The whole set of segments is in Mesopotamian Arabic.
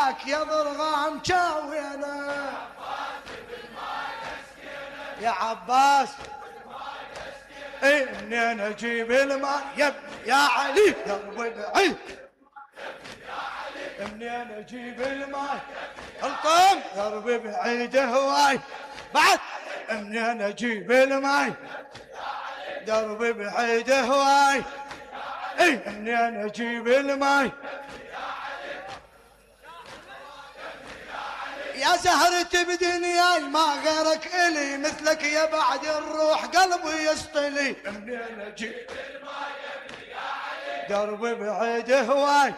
وياك يا ضرغام شاوينا يا عباس منين اجيب الماء يا ابني يا علي درب بعيد منين اجيب الماء القم درب بعيد هواي بعد منين اجيب الماء درب بعيد هواي منين اجيب الماء يا زهرة بدنياي ما غيرك إلي مثلك يا بعد الروح قلبي يسطلي منين اجيب الماء يا ابني يا علي درب بعيد هواي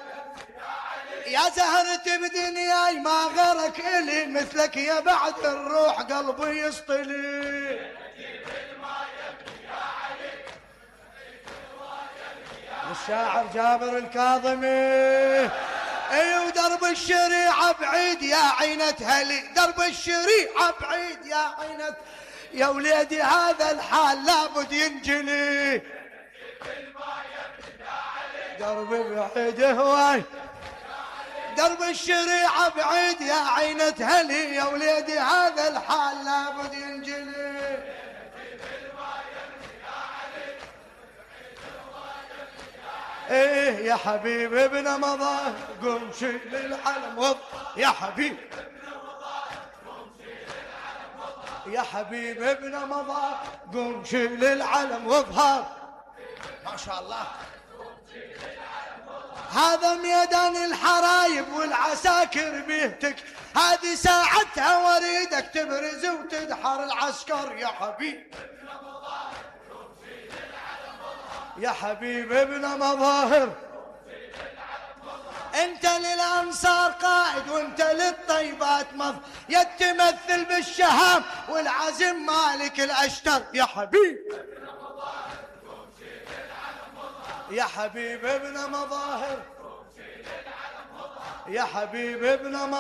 يا زهرة بدنياي ما غيرك إلي مثلك يا بعد الروح قلبي يسطلي الشاعر جابر الكاظمي ودرب الشريعة بعيد يا عينة هلي درب الشريعة بعيد يا عينة يا وليدي هذا الحال لابد ينجلي درب بعيد هواي درب الشريعة بعيد يا عينة هلي يا وليدي هذا الحال لابد ينجلي يا حبيب ابن مضى قم شيل العلم وض يا حبيب يا حبيب ابن مضى قم شيل العلم واظهر ما شاء الله هذا ميدان الحرايب والعساكر بيهتك هذه ساعتها وريدك تبرز وتدحر العسكر يا حبيب يا حبيب ابن مظاهر انت للانصار قائد وانت للطيبات مظ يا تمثل بالشهام والعزم مالك الاشتر يا حبيب يا حبيب ابن مظاهر يا حبيب ابن مظاهر